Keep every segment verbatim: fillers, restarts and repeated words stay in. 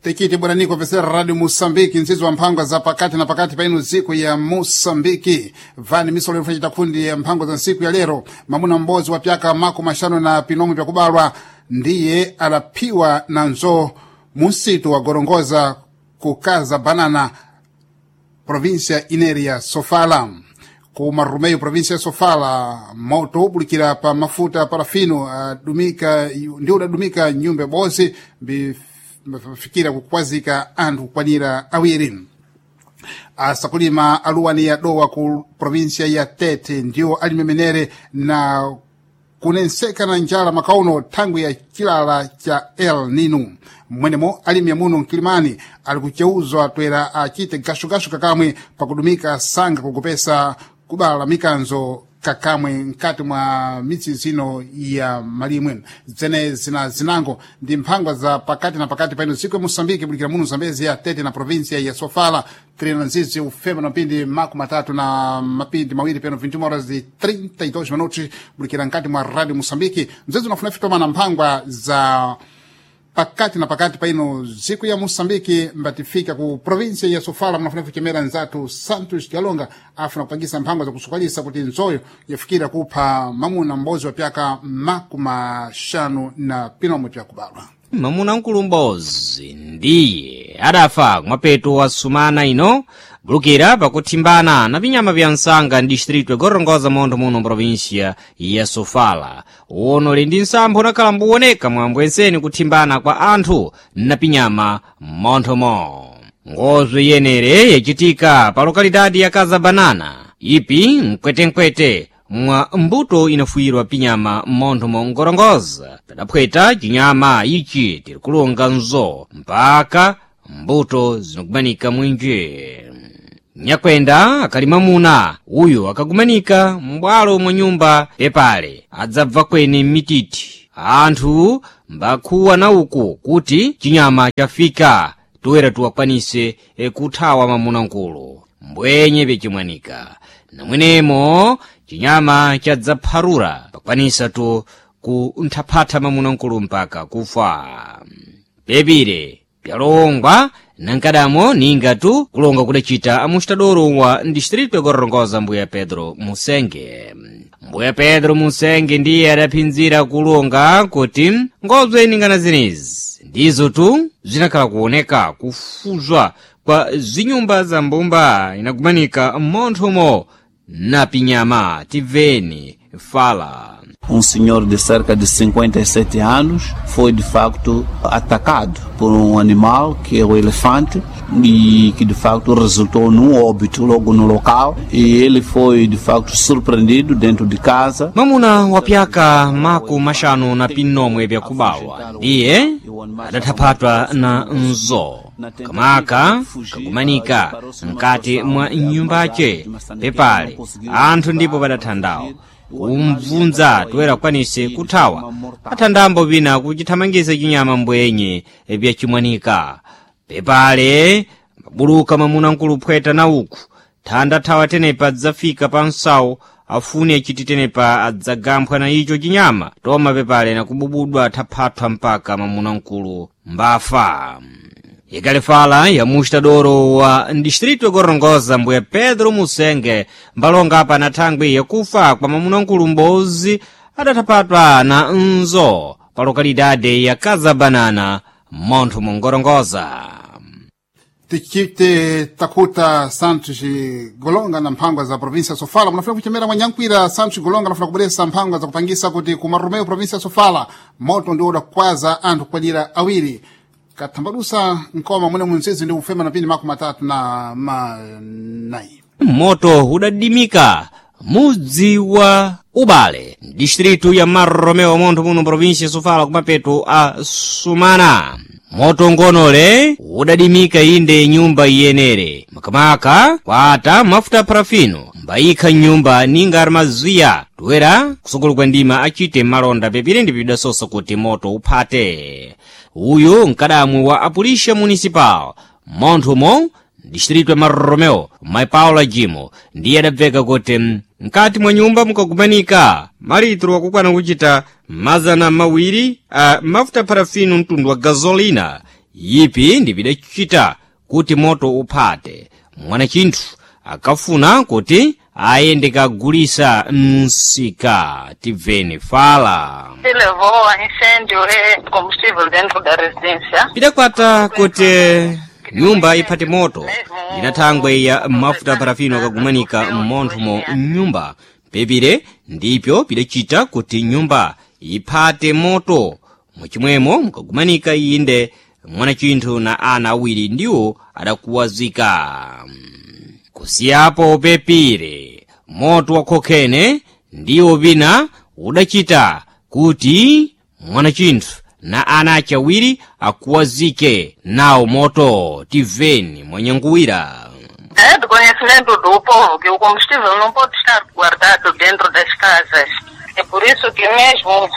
Tikiti bwana kupesera Radio Mosambiki nzizi wa mphangwa za pakati na pakati paino ziku ya Mosambiki vani misolo ilifanyita kundi ya mphangwa za nsiku ya lero. Mamuna mbozi wa pyaka mako mashano na pinomo vyakubalwa ndiye alapiwa na nzo musitu wa gorongoza kukaza banana província ineria Sofala ku Marrumeio, província ya Sofala, moto ubulikira pa mafuta parafino adumika ndio udadumika nyumba bozi bifikira kukwazika anthu kukwanira awiri. Asakulima aluwani ya dowa ku província ya Tete ndio alimemenere na kunenseka na njala makauno thangwi ya chilala cha El Nino. Mwenemo alimi amuno mkilimani ali kucheuzwa twera achite gashugashu kakamwe pakudumika sanga kukupesa kubala mikanzo kakamwe mkati mwa mitsi zino ya malimwe zene zina zinango ndi mphangwa za pakati na pakati paino siku ya Mosambiki bulikira muno Zambezi ya Tete na província ya Sofala trina nzizi ufema na mapindi mako matatu na mapindi mawiri peno vinte horas de trinta e dois minutos bulikira mkati mwa Radio Mosambiki mzezi unafuna fitoma na mphangwa za pakati na pakati paino ziku ya Mosambiki mbatifika ku província ya Sofala mnafuna kuchemera nzatu Santos Galonga afuna kupangisa mphangwa za kusukalisa kuti nzoyo yafikira kupha mamuna mbozi wa pyaka makumi maxanu na pinomo pyakubalwa. Mamuna mkulu mbozi ndiye adafa kumapeto wa sumana ino bulukira pakuthimbana na vinyama vya msanga ndistrito igorongoza montho muno mprovinsia ya Sofala. Uno li ndi nsampho unakhala mbuwoneka mwambwenseni kuthimbana kwa anthu na pinyama mmonthomo. Ngozo yenere yacitika pa lokalidadi ya Kaza Banana ipi mkwetenkwete mwa mbuto inafuyirwa pinyama mmontho mongorongoza padaphweta cinyama ichi tiri kulonga nzo mpaka mbuto zinakumanika mwinji. Nyakwenda akali mamuna uyu akagumanika m'bwalo mwa nyumba pepale adzabva kwene m'mititi anthu mbakhuwa na uku kuti chinyama chafika toera tiwakwanise kuthawa mamunamkulu mbwenye pyachimwanika namwenemo chinyama chadzapharura pakwanisa tu kunthaphatha mamunamkulu mpaka kufa. Pepire pyalongwa nankadamo ninga tu kulonga kudacita amustadoro wa distrito yagorongoza mbuya Pedro Musenge. Mbuya Pedro Musenge ndiye adaphinzira kulonga kuti ngobzo iningana zenezi ndizo tu zinakhala kuoneka kufuzwa kwa zinyumba za mbumba inakumanika mmonthomo na pinyama. Tiveni fala. Um senhor de cerca de cinquenta e sete anos foi de facto atacado por um animal que é o elefante e que de facto resultou num óbito logo no local e ele foi de facto surpreendido dentro de casa. Mamuna wa pyaka maku maxanu na pinomwe pyakubawa ndiye adathaphatwa na nzo kamaka kakumanika mkati mwa nyumbace pepale anthu ndipo padathandawo kumvunza toera kwanise kuthawa athandambo pina kuchithamangisa chinyama mbwenye pyachimwanika pepale mabuluka mamuna mkulu phweta na uku thanda thawa tenepa adzafika pa msawu afune achiti tenepa adzagamphwa na icho chinyama toma pepale nakububudwa thaphathwa mpaka mamuna mkulu mbafa. Ikalifala ya mustadoro wa distrito yagorongoza mbuya Pedro Musenge mbalonga apa na thangwi yakufa kwa mamunamkulu mbozi adathapatwa na nzo pa lokalidade ya Kaza Banana montho mungorongoza. Tichite takuta Santos Golonga na mphangwa za província ya Sofala munafuna kuchemera mwanyankwira Santos Golonga nafuna kubweresa mphangwa za kupangisa kuti ku Marromeu província ya Sofala moto ndio udakwaza anthu kukwanira awiri kathambadusa nkoma mwene munzizi ndi kufema na pindi makumi matatu na manayi. Moto udadimika mudzi wa Ubale distritu ya Marromeo montho muno província ya Sofala kumapeto a sumana. Moto ngonole udadimika inde nyumba iyenere makamaka kwata mafuta parafino mbayikha nyumba ninga armaziya toera kusukulu kwa ndima achite malonda pepire ndi pidasosa kuti moto uphate. Uyu mkadamwe wa apulisha municipal monthomo distrito ya Marromeo mai Paula Jimo ndiye adabveka kuti mkati mwa nyumba mukakumanika malitro akukwana kuchita mazana mawiri a mafuta parafino mtundu wa gasolina yipi ndi pidachita kuti moto uphate mwana chinthu akafuna kuti ayende kagulisa msika. Tibveni fala. Se levou a incêndio e combustível dentro da residência. Pidakwata kuti nyumba iphate moto ndinathangwe ya mafuta parafino akagumanika mmonthomo mnyumba pepire ndipyo pidachita kuti nyumba iphate moto muchimwemo mukagumanika iyinde mwanachinthu na ana awiri ndiwo adakuwazika. Kusiyapo pepire moto wa khokhene ndiwo pina udachita kuti mwanachinthu na ana achawiri akuwazike nawo moto. Tiveni mwanyanguwira. É do conhecimento do povo que o combustível não pode estar guardado dentro das casas. É por isso que mesmo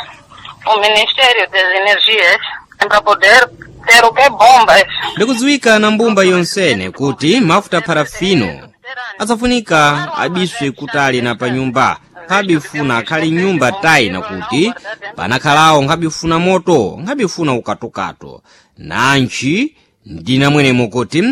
o Ministério das Energias, para poder ter o que bombas. Ndikudziwika na mbumba yonsene kuti mafuta parafino asafunika abiswe kutali na panyumba nkhabifuna akhali nyumba tayi nakuti panakhalawo nkhabifuna moto nkhabifuna ukatokato nantchi ndinamwenemo kuti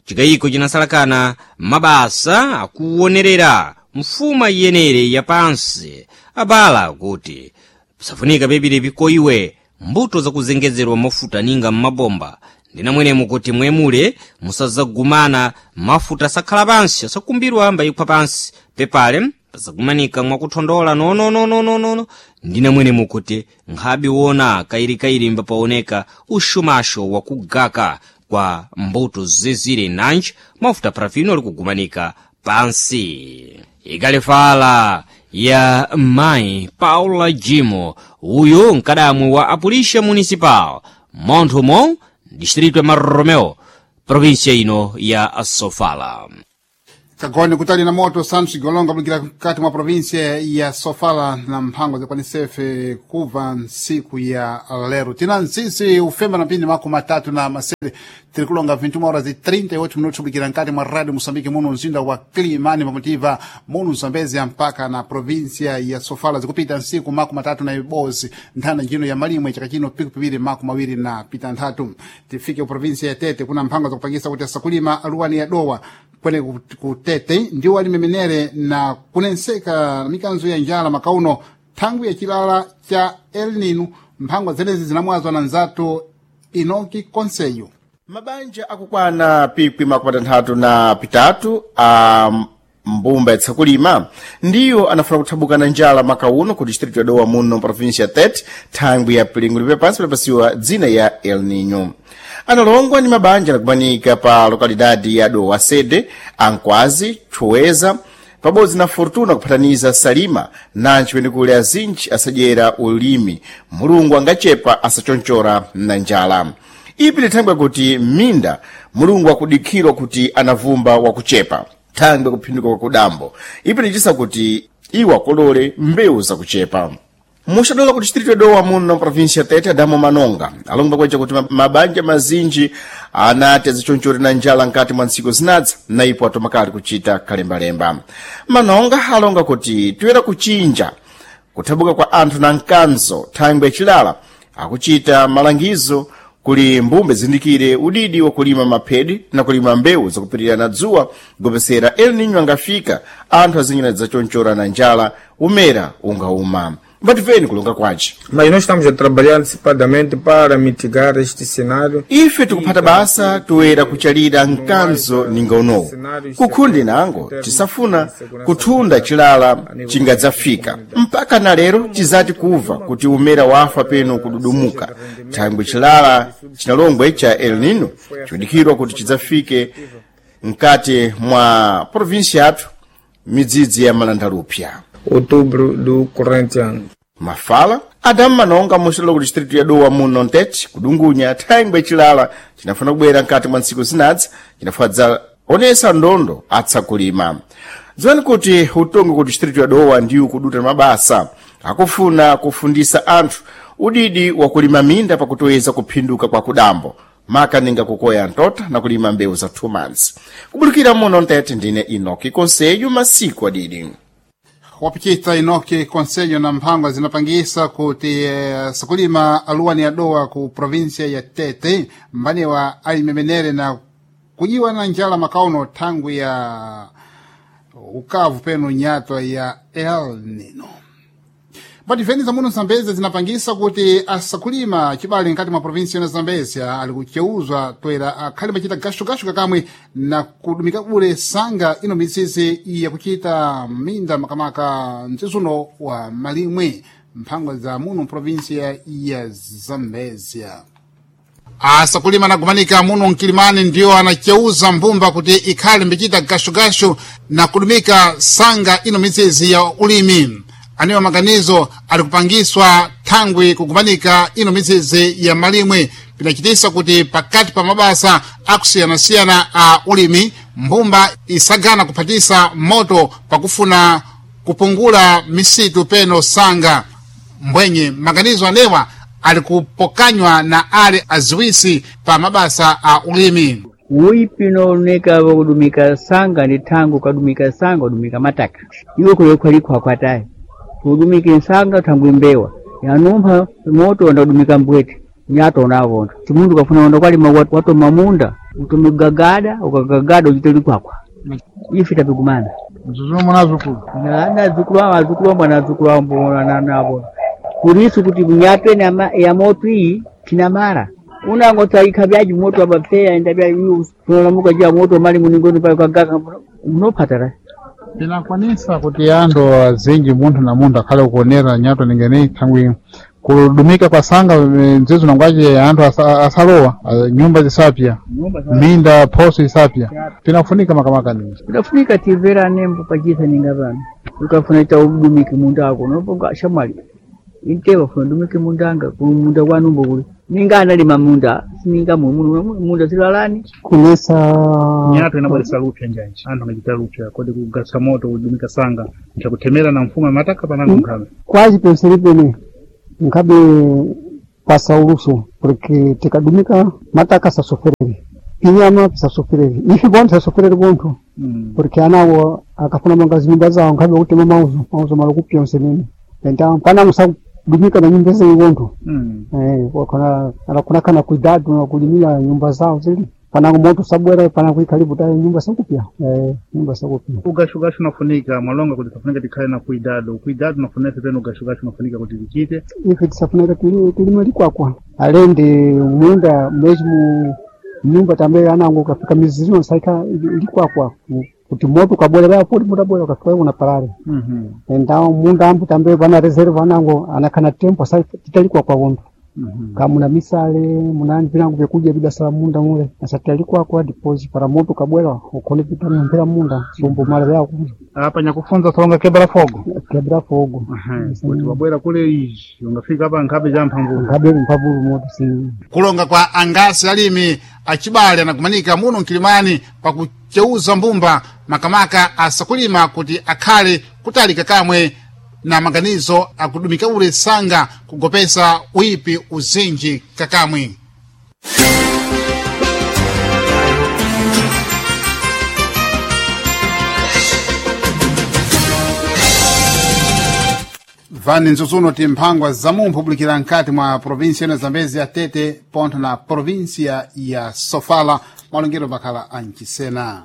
chikayiko chinasalakana mabasa akuonerera mfuma iyenere yapansi abala kuti safunika pepire pikoiwe mbuto zakuzengezerwa mafuta ninga mmabomba ndinamwenemo kuti mwemule musazagumana mafuta asakhala pansi asakumbirwa mbayikhwa pansi pepale pasagumanika mwakuthondola nononononono ndinamwenemo kuti nkhabiwona kairikairi mbapaoneka ushumasho wakugaka kwa mbuto zezire nanji mafuta parafino alikugumanika pansi. Ikalifala ya mayi Paula Jimo uyu mkadamwe wa Apulisha Municipal monthomo distrito ya Marromeo provinsia ino ya Sofala. Kagone kutali na moto Santos Golonga kulikira mkati mwa provinsia ya Sofala na mphango zikwanisefe kuva ntsiku ya lero. Tina ntsisi ufemba na mpindi mako matatu na masere tiri kulonga vinte e uma horas e trinta e oito minutos kulikira mkati mwa Radio Moçambique muno mzinda wa Climane pamotiva muno Zambezia mpaka na provinsia ya Sofala zikupita ntsiku mako matatu na ibozi nthana njino ya malimwe chaka chino piku piwiri mako mawiri na pita nthatu. Tifike ku provinsia ya Tete kuna mphango zakupangisa kuti asakulima aluwani ya Dowa kwene kutete ndiwo alimemenere na kunenseka mikanzo ya njala makauno thangwi ya chilala cha El Nino. Mphangwa zenezi zinamwazwa na nzatu Inoki Konseyo. Mabanja akukwana pikwi makumi atanthatu na pitatu a mbumba yatsakulima ndiyo anafuna kuthabuka na njala makauno ku distrito ya Dowa muno província ya Tete thangwi ya pilingo lipepansi pilapasiwa dzina ya El Nino. Analongwa ni mabanja anakumanika pa lokalidade ya Dowa Sede, Ankwazi, Chuweza pabodzi na Fortuna kuphataniza Salima nanji penekule azinji asadyera ulimi mulungu angachepa asachonchora na njala. Ipi lithangwe kuti minda mulungu akudikhirwa kuti anavumba wakuchepa thangwe kuphinduka kwa kudambo ipi lichisa kuti iwo akolole mbewu zakuchepa. Muxadola ku distrito ya Dowa muno província Tete Adamo Manonga alonga kweca kuti mabanja mazinji anati azichonchore na njala nkati mwa ntsiku zinadza na ipo atomakali kuchita kalembalemba. Manonga alonga kuti tuyera kuchinja kuthabuka kwa anthu na mkanzo thangwe yachilala akuchita malangizo kuli mbumbe zindikire udidi wakulima maphedi na kulima mbewu zakupitirira na dzuwa gopesera El Nino angafika anthu azinyina zachonchora na njala umera ungauma. Mbativeni kulonga kwace. Mas nós estamos a trabalhar antecipadamente para mitigar este cenário. Ife tikuphata basa toyera kuchalira mkanzo ninga unowu kukhundi nango tisafuna kuthunda chilala chingadzafika mpaka na lero tizati kuva kuti umera wafa peno kududumuka thangwi chilala chinalongwe cha El Nino chikudikhirwa kuti chidzafike mkati mwa provinsi yathu midzidzi ya malandalupya. Outubro do corrente ano. Mafala Adamu Manonga muxilolo ku distrito ya Dowa muno Ntete kudungunya thangwe chilala chinafuna kubwera mkati mwa ntsiku zinadzi chinafadza onesa ndondo atsakulima. Dziwani kuti utongi ku distrito ya Dowa ndiwo kuduta mabasa akufuna kufundisa anthu udidi wakulima minda pakutoweza kuphinduka kwa kudambo makaninga kukoya ntota na kulima mbewu za two months. Kubulukira muno Ntete ndine Inoki Konseyo masiku adidi. Wapichita inoki konselho na mphangwa zinapangisa kuti eh, sakulima aluwani adowa ku provinsia ya Tete mbaniwa alimemenere na kujiwa na njala makauno thangwi ya ukavu penu nyatwa ya El Nino. Patifeni za muno Zambezia zinapangisa kuti asakulima chibale nkati mwa provinsi ya Zambezia ali kucheuzwa toera akhale machita gashugashu kakamwe na kudumika bule sanga ino mitsitsi yakuchita minda makamaka mtsitsuno wa malimwe mphangwa za muno provinsia ya Zambezia. Asakulima nagumanika muno mkilimani ndiyo anacheuza mbumba kuti ikhale mbichita gashugashu na kudumika sanga ino mitsitsi ya ulimi. Anewa maganizo alikupangiswa thangwi kugumanika ino mitsitsi ya malimwe pinachitisa kuti pakati pa mabasa akusiyanasiyana a ulimi mbumba isagana kuphatisa moto pakufuna kupungula misitu peno sanga mbwenye maganizo anewa alikupokanywa na ale aziwisi pa mabasa a ulimi. Uipi unooneka wakudumika sanga ni tangu kadumika sanga udumika mataka iwe kulekwalikwa kwatayi udumike nsanga thangwi mbewa yanumpha moto wanda mbwete nyato unavonda chimundu kafuna wanda kwalima watoma munda utomigagada ukagagada uchite likwakwa ife tapigumana mzuzumo munazukulu nazukulu awo azukulu ambo anazukulu ambo navo kurisu kuti nyato ene ya moto iyi tinamara unango tsaikha byaji moto abapfeya enda bya tunalamuka jia moto mali muningoni pale kagaka munophatara Pinakwanisa kuti anthu azinji munthu na munthu akhale kuonera nyato ningeni thangwi kudumika kwa sanga mzizo nangwace anthu asa, asalowa nyumba zisapya minda phoso isapya pinafunika makamaka nini pinafunika timvera nembo pachisa ninga pano ukafuna ita udumike munda ako noponga shamwali intewa funa udumike munda anga munda kwanumbo kuli ninga analima munda sininga mumuno munda silalani kulesa nyato inabweresa lupya njanji anthu angachita lupya kodi kugasa moto kudumika sanga nchakuthemera na mfumo mataka panango nkhabe quase pensei pene nkhabe pasa uluso porque tikadumika mataka sasoferere pinyama pisasoferere ife bonthu sasoferere bonthu mm. porque anawo akafuna manga zinyumba zawo nkhabe kutema mauzo mauzo malo kupya onsenene então panango sakudumika na nyumba zawo bonthu mm. eh wakona anakuna kana cuidado na kulimia nyumba zao zili panango moto sabwera panango ikaribu ta nyumba sakupya eh nyumba sakupya ugashugashu unafunika mwalonga kuti tafunika tikhale na kuidado kuidado unafunika peno ugashugashu unafunika kuti tichite ife tisafuneka tili tilima likwakwa alende munda mesmo nyumba tambe anango kafika miziro saika likwakwa kuti moto ukabwera baya poli moto abwera ukafika una parare mm -hmm. então munda ambu tambe vana reserve anango anakana tempo sai titalikwa wonthu mm -hmm. kamuna misale muna vinango vyekudya vidasala munda mule asatalikwakwa depois para moto kabwera ukhone pitanompera munda sumbu mala vyako apa nyakufunza solonga kebera fogo kebera fogo kuti wabwera kule izhi ungafika apa nkhabe cha mphamvu nkhabe mphamvu moto si kulonga kwa angasi alimi achibale anagumanika muno mkilimani pakucheuza mbumba makamaka asakulima kuti akhale kutalika kamwe na maganizo akudumika ule sanga kugopesa uipi uzinji kakamwe. Vani nzuzuno timphangwa za mumphu publikira nkati mwa provinsia ino Zambezi ya Tete pontho na provinsia ya Sofala malongero makhala ancisena.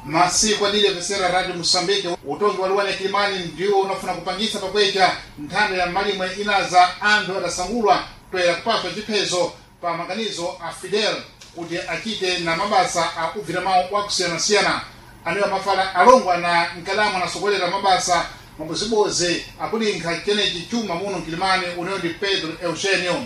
Masiku adili apesera Radio Mosambike utongi wa luwani ya Kilimani ndiwo unafuna kupangisa pakwecha nthanda ya malimwe inaza anthu adasangulwa toera kupaswa chiphezo pa maganizo a Fidel kuti achite na mabasa a ubvira mawu wakusiyanasiyana anewa mafala alongwa na mkalamu anasokolera mabasa mabozibozi akulinkha chenechi chuma muno mkilimani uneyo ndi Pedro Eugenio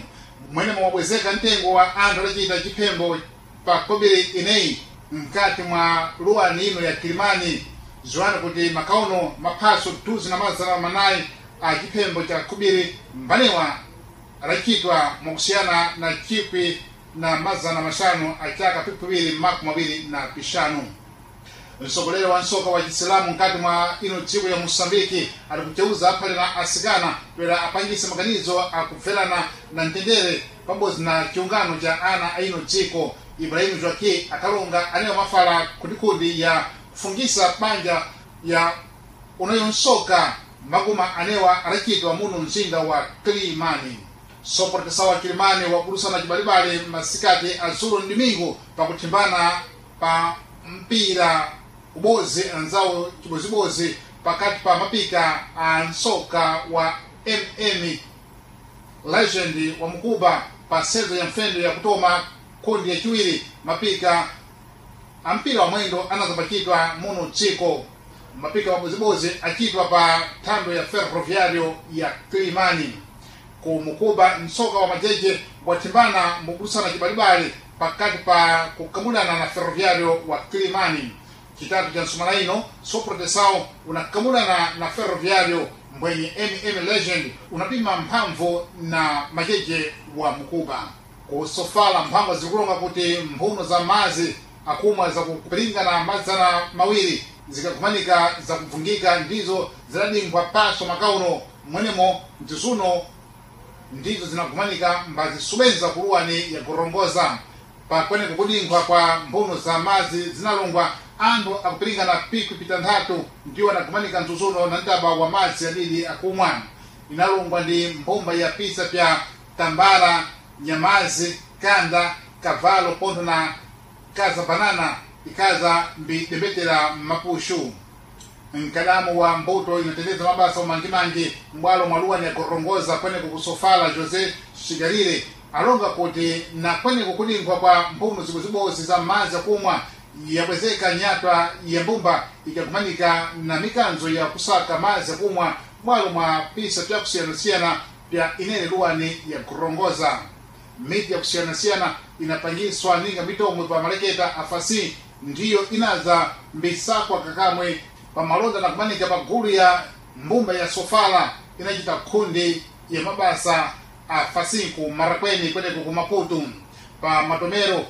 mwene mwabwezeka mtengo wa anthu adachita chiphembo pa kobiri ineyi mkati mwa luwani ino ya Kilimani ziwani kuti makauno maphaso tuzi na mazana manayi a chiphembo cha kubiri mbanewa adachitwa mwakusiyana na chikwi na mazana mashanu achaka pipiwiri makumi mawiri na pishanu. Msogoleri wa nsoka wa chisilamu mkati mwa ino dziko ya Mosambiki ali kucheuza aphale na asikana toera apangise maganizo akubverana na mtendere pabodzi na chiungano cha ana a ino dziko Ibrahim Joaquim akalonga anewa mafala kundikundi ya kufungisa banja ya unayonsoka maguma anewa adachitwa muno mzinda wa Kilimani. Soportesa wa Kilimani wakulusana chibalibali masikati azulu ndimingu pakuthimbana pa mpira ubozi anzawo chibozibozi pakati pa mapika a nsoka wa mm Legend wa Mukuba pa sezo ya mfendo ya kutoma kundi yachiwiri mapika a mpira wa mwendo anazapachidwa muno dziko. Mapika mabozibozi achitwa pa thando ya Ferroviario ya Kilimani. Ku Mukuba msoka wa majeje wathimbana mukulusana chibalibali pakati pa kukamulana na Ferroviario wa Kilimani. Chitatu cha nsumala ino Soprotesao unakamulana na Ferroviario mbwenye mm Legend unapima mphamvu na majeje wa Mukuba. Kusofala mphamvu zikulonga kuti mphuno za mazi akumwa zakupiringana mazana mawiri zikakumanika zakuvungika ndizo zidadingwa paso makauno mwenemo mtizuno ndizo zinakumanika mbazisubenza kuluwani yakurongoza pakweneko kudinkhwa kwa mphuno za mazi zinalongwa anthu akupiringana pikwi pitanthatu ndiwo anakumanika mzuzuno na mtaba wa madzi adidi akumwa. Inalongwa ndi mbumba ya pisa pya tambara, nyamazi, kanda, kavalo pontho na kaza banana ikaza mbidembetera mapushu. Mkadamu wa mbuto inatendeza mabasa umangimangi mbwalo mwaluwani yakurongoza kweneko kusofala Jose Shigarire alonga kuti na kweneko kudinkhwa kwa mphuno zibozibozi za madzi akumwa yakwezeka nyatwa ya mbumba ikakumanika na mikanzo ya kusaka madzi akumwa mwalo mwa pisa pyakusiyanasiyana pya inene luwani yakurongoza. Miti yakusiyanasiyana inapangiswa ninga mitomwe pa maleketa afasi ndiyo inaza mbisakwa kakamwe pamalonda na kumanika pa gulu ya mbumba ya Sofala inachita kundi ya mabasa afasinku marakweni kweneko ku Maputo. Pa matomero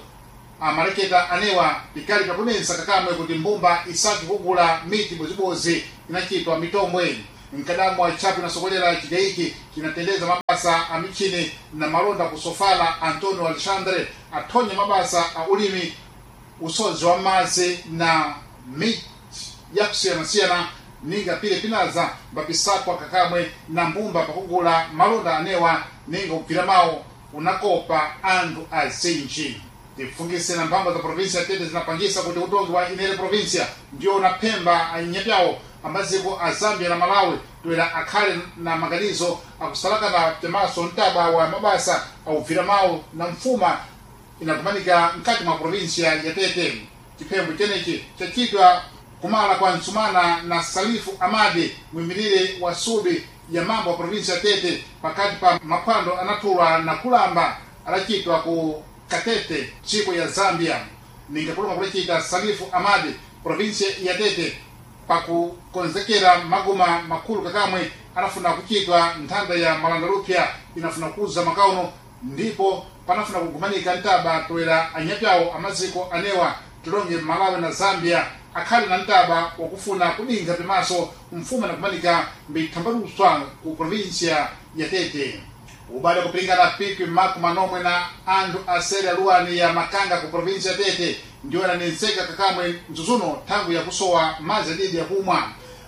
amaleketa anewa pikali pakunensa kakamwe kuti mbumba isaki kugula miti bozibozi inachitwa mitomwe. Mkadamu wa chapu inasokolera chigaiki kinatendeza mabasa a michini na malonda kusofala Antonio Alexandre athonya mabasa a ulimi usozi wa madzi na miti yakusiyanasiyana ninga pile pinaza mbapisakwa kakamwe na mbumba pakugula malonda anewa ninga kugwira mawo unakopa anthu azinji. Tifungise na mphamvu za provinsia Tete zinapangisa kuti utongi wa inere provinsia ndiwo unaphemba anyapyawo amaziko a Zambia na Malawi toera akhale na maganizo akusalakana temaso mtaba wa mabasa akugwira mawu na mfuma inakumanika mkati mwa provinsia ya Tete. Chiphembo chenechi chachitwa kumala kwa Ntsumana na Salifu Amadi mwimirire wa subi ya mambo wa provinsia ya Tete pakati pa maphwando anathulwa na kulamba adachitwa ku Katete dziko ya Zambia. Ningakulonga kulachita Salifu Amadi provinsia ya Tete pakukonzekera maguma makulu kakamwe anafuna kuchitwa nthanda ya malandalupya inafuna kuza makauno ndipo panafuna kugumanika mtaba toera anyapyawo amaziko anewa tilonge Malawi na Zambia akhale na mtaba wakufuna kudingha pimaso mfumo nakumanika mbithambaluswa ku provinsia ya Tete. Ubale kupiringana pikwi maku manomwe na anthu aseri aluwani ya Makanga ku provinsia ya Tete ndiwo ananetseka kakamwe mzuzuno thangwi yakusowa madzi adidi yakumwa.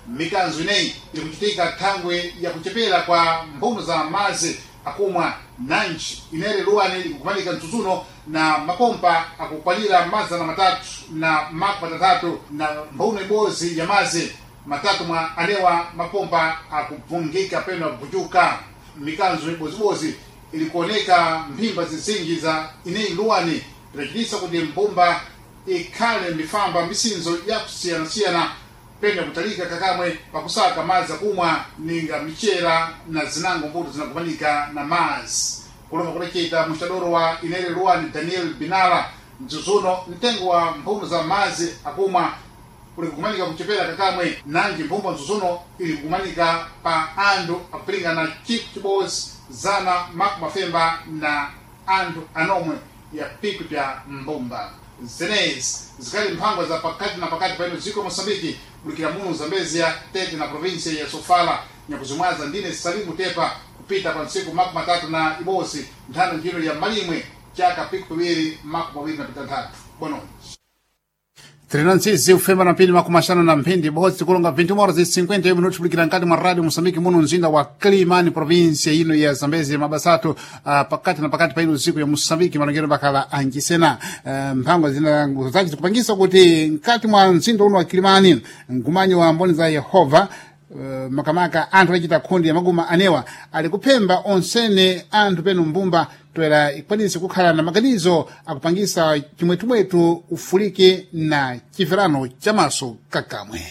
Mikanzo ineyi ikuchitika thangwi yakuchepera kwa mphuno za madzi akumwa nanji inere luwani ikukumanika mzuzuno na mapompa akukwalira mazana matatu na maku matatatu na mphuno ibodzi ya madzi matatu mwa anewa mapompa akubvungika peno akupuchuka. Mikanzo ibozibozi ilikuoneka mphimba zizinji za ineyi luwani idachitisa kuti mbumba ikhale mifamba misinzo yakusiyanasiyana pene kutalika kakamwe pakusaka madzi akumwa ninga michera na zinango mbuto zinakumanika na madzi. Kulonga kulechita muxadoro wa inere luwani Daniel Binala mzuzuno mtengo wa mphuno za madzi akumwa uli kukumanika kuchepera kakamwe nanji mphumba mzuzuno ili kukumanika pa anthu akupiringana chiku chibodzi zana maku mafemba na anthu anomwe ya piku pya mbumba. Zenezi zikali mphangwa za pakati na pakati paino dziko Moçambique bulikira muno Zambezia Tete na provinsia ya Sofala nyakuzimwaza ndine Salimu Tepa kupita pa ntsiku makumi matatu na ibodzi nthano njino ya malimwe chaka piku piwiri makumi mawiri na pitanthatu. Boa noite. Trinantsizi ufema na mpindi makumi axanu na mphindi bodzi tikulonga vinte horas e cinquenta e um minutos kulikira nkati mwa rádio Moçambique muno mzinda wa Climane, província ino ya Zambezi mabasatu uh, pakati na pakati pa ino siku ya Moçambique malongero bakala ancisena uh, mphango zina zake zikupangisa kuti nkati mwa mzinda uno wa Climane mgumanyo wa mboni za Yehova Uh, makamaka anthu achita khundi ya maguma anewa ali kuphemba onsene anthu penu mbumba toera ikwanise kukhala na maganizo akupangisa chimwetumwetu ufulike na chimverano chamaso kakamwe.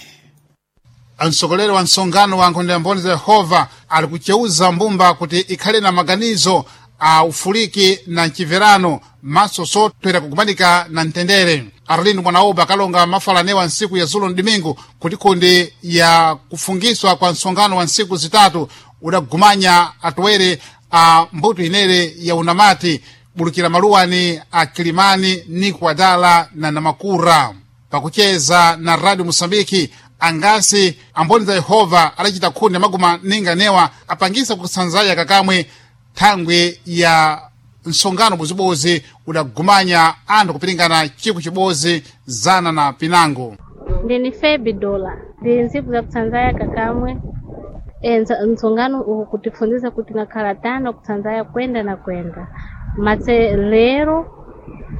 Mtsogoleri wa msonkhano wa nkhonde ya mboni za Yehova ali kucheuza mbumba kuti ikhale na maganizo a ufuliki na mchimverano maso sotwera kugumanika na mtendere. Arlindo Mwanaoba akalonga mafala anewa nsiku ya zulo mdimingu kuti kundi ya kufungiswa kwa msonkhano wa nsiku zitatu udagumanya atoere a mbuto inere ya unamati bulukira maluwani a Kilimani ni Kwadala na Namakura. Pakucheza na Radio Mosambiki angasi amboni za Yehova adachita khundi ya maguma ninga newa apangisa kusanzaya kakamwe thangwi ya msonkhano bozibozi udagumanya anthu kupiringana chiku chibozi zana na pinango. Ndini Febi Dola ndi ntsiku za kutsanzaya kakamwe e, msonkhano uku kutifunzisa kuti ngakhala tano kutsanzaya kwenda na kwenda matse lero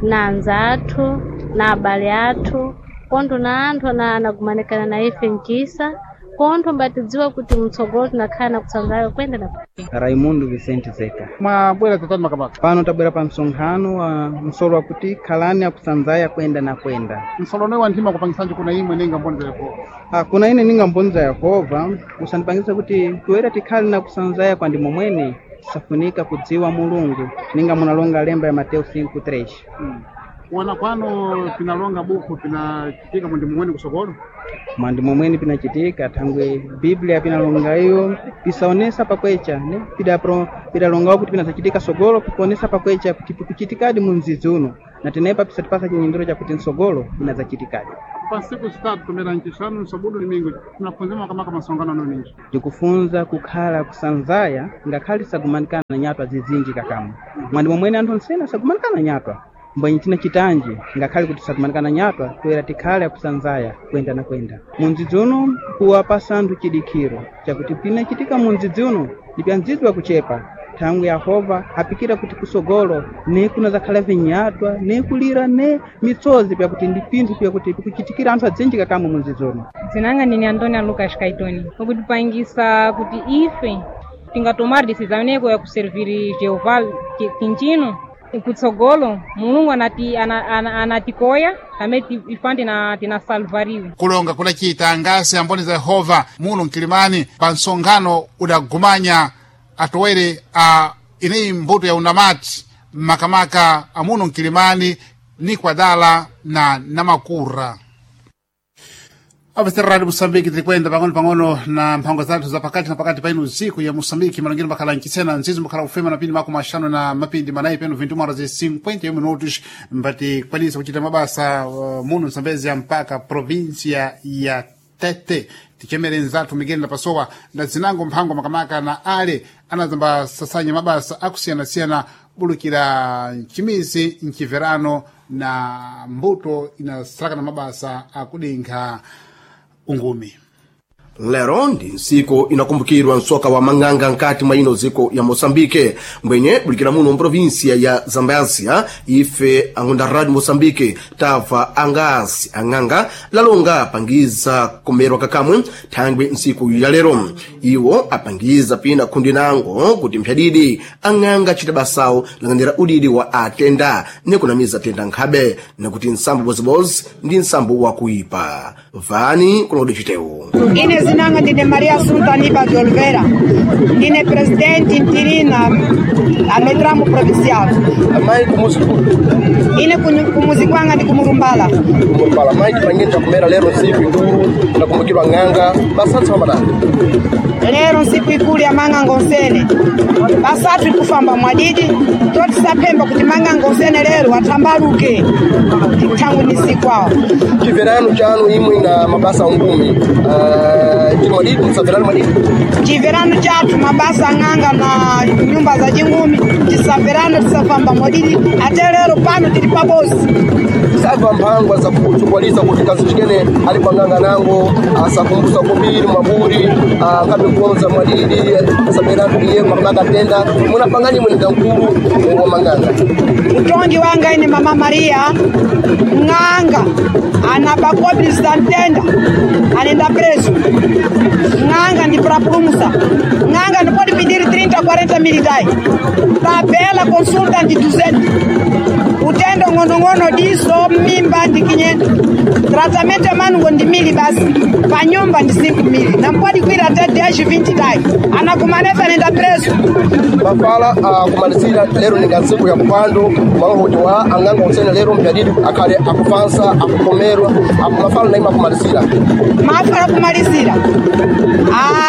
na anza athu na abale athu kontho na anthu ana anagumanikana na ife mchisa kontho mbatidziwa kuti mtsogolo tinakhala na kutsanzaya kwenda na kwenda. Raimundo Vicente Zeka. Mwabwera tatani makamaka Pano tabwera pa msonkhano wa msolo wakuti khalani akusanzaya kwenda na kwenda. msolono wa nthima kupangisanji kuna imwe ninga mboni za Yehova? Ah, kuna ine ninga mboni za Yehova usandipangisa kuti toera tikhale na kusanzaya kwa ndimo mwene tisafunika kudziwa Mulungu ninga munalonga lemba ya Mateo cinco três. Hmm. Kuona kwano pinalonga buku pinachitika mundi mumweni kusokolo mwandimo mwene pinachitika thangwe Biblia pinalonga iyo pisaonesa pakwecha ne pidapro pidalongawo kuti pinazachitika sogolo pikuonesa pakwecha kuti pikuchitikadi mu mdzidzi uno na tenepa pisatipasa chinyindiro chakuti msogolo pinazachitikadi. Pa nsiku zitatu tumera ncixanu nsabudu limingo tunafunza makamaka masongano ano ninji ndikufunza kukhala kusanzaya ngakhale sagumanikana na nyatwa zizinji kakamwe mwandimo mwene anthu onsene asagumanikana na nyatwa mbwenye china chitanji ngakhale kuti sagumanikana nyatwa toera tikhale akusanzaya kwenda na kwenda mundzidzi uno kuwapasa anthu chidikhiro chakuti pinachitika mundzidzi uno ndi pya mdzidzi wakuchepa thangwi Yehova apikira kuti kusogolo ne kunazakhala vinyatwa ne kulira ne mitsozi pyakuti ndi pinthu pyakuti pikuchitikira anthu adzinji kakamwe mundzidzi uno. Dzinanga ndine Antonia Lucas Kaitoni ukutipangisa kuti ife tingatomar decisão neko ya kuservir Jeová kinchino kutsogolo Mulungu anati ana, ana, anatikoya amene ifan tina tinasalvariwe. Kulonga kudachita ngasi amboni za Yehova muno mkilimani pa msonkhano udagumanya atowere a ineyi mbuto ya unamati makamaka amuno mkilimani ni kwadala na Namakura. Apesera Radio Moçambique tirikwenda pang'ono pang'ono na mphango zathu za pakati na pakati pa ino usiku ya Moçambique malongero makhala mchisena nzizo makhala kufema na pindi mako maxanu na mapindi manayi peno vinte horas e cinquenta e um minutos mbati kwanisa kuchita mabasa uh, muno Msambezia mpaka província ya Tete tichemere nzathu Miguel na Pasowa na zinango mphango makamaka na ale anazamba sasanya mabasa akusiyanasiyana bulukira mchimizi mchiverano na mbuto inasalaka na mabasa akudinkha ungumi. Lero ndi ntsiku inakumbukirwa msoka wa mang'anga nkati mwa ino dziko ya Moçambique mbwenye bulikira muno mprovinsia ya Zambésia ife angunda Radio Moçambique tabva angasi ang'anga lalonga apangiza kumerwa kakamwe thangwi ntsiku ya lero iwo apangiza pina khundi nango kuti mphyadidi ang'anga achita basawo lang'anira udidi wa atenda nekunamiza tenda nkhabe nakuti nsambo bozibozi ndi nsambo wakuipa vani kulodi chitewu. Ine zinanga ndine Maria Assunta Aniba de Oliveira, ndine presidente interina a Metramo Provincial. Amayi kumuzi Ine kunyu- kumuzi kwanga ndi kumurumbala. Kumurumbala mayi tipangeni kumera lero ntsiku ikulu nakumbukirwa ng'anga basatsa pamadani. Lero nsiku ikulu ya mang'anga onsene basathu ikufamba mwadidi totisapemba kuti mang'anga onsene lero athambaluke thangu ni nsiku awo. Chimverano chanu imwe na mabasa ungumi uh, chili mwadidi msamverano mwadidi. Chimverano chathu mabasa ang'anga na nyumba za chingumi, tisaberana, tisafamba mwadidi. Ate lero pano tili pabozi. Sava mphangwa zakuchukwaliza kuti kazichikene ali kwang'anga nango asakumbusa kubiri mwaburi akabe kuonza mwadidi asaberana iye makamaka tenda munapangani mwene mkulu wa mang'anga. Utongi wanga ine Mama Maria ng'anga anabakobisa ntenda anenda preso ng'anga ndi prapulumusa ng'anga ndipoti pidiri trinta quarenta militai tabela consulta ndi duzentos utendo ng'onong'ono diso mimba ndi kinyendo tratamento yamanungo ndi mili basi panyumba ndi cinco mili nampodi kwira te dez vinte tai anakumanefe anenda preso. Mafala akumalizira lero ninga ntsiku ya kupando maloti wa ang'anga onsene lero mpyadidi akhale akufansa akukomerwa akumafala naima akumalizira. Mafala kumalizira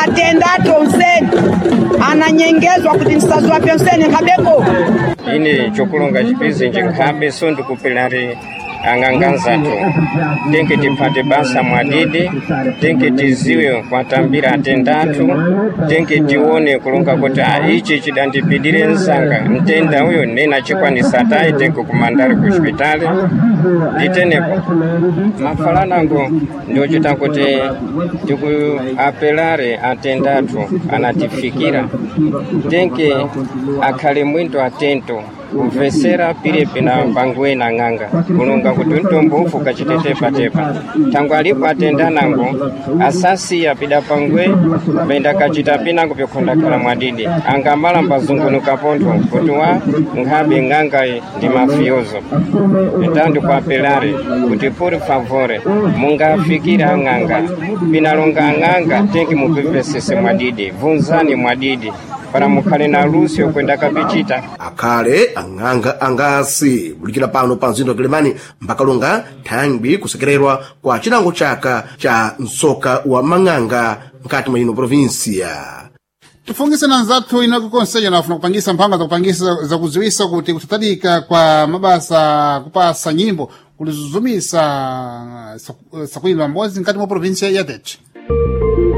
atendatu onsene ananyengezwa kuti msazi pyonsene nkhabeko. Ine chokulonga chipizinji nkhabe so ndikupilari ang'anga nzathu tinki tiphate basa mwadidi, tinki tiziwe kwatambira atendathu, tinki tione kulonga kuti a ichi chidandipidire msanga mtenda uyo nena chikwanisa tayi tinki kumandari ku xipitali nditenepo mafalanango ndiochita kuti tikuapelare atendathu anatifikira tinki akhale mwinto atento kumvesera pilipi na pangwe na ng'anga kulonga kuti mtombo ufu kachitetepatepa thangwe alipo atenda nango asasiya pida pangwe penda kachita pinango pikhondakhala mwadidi angamala mbazungunuka pontho kuti wa nkhabe ng'angayi ndi mafiozo. Então ndikuapelare kuti por favore mungafikira ang'anga pinalonga ang'anga tenki mupepesese mwadidi vunzani mwadidi para mukhale na luso kwenda kapichita. Akhale ang'anga angasi bulikira pano pa mzinda wa Kilimani mpakalonga thangwi kusekererwa kwa chinango chaka cha msoka wa mang'anga mkati mwa ino provinsia. Tifungise na nzathu inako konseyo nafuna kupangisa mphanga zakupangisa zakuziwisa kuti kuthatalika kwa mabasa kupasa nyimbo kulizuzumisa sakuimba mbozi mkati mwa provinsia ya Tete.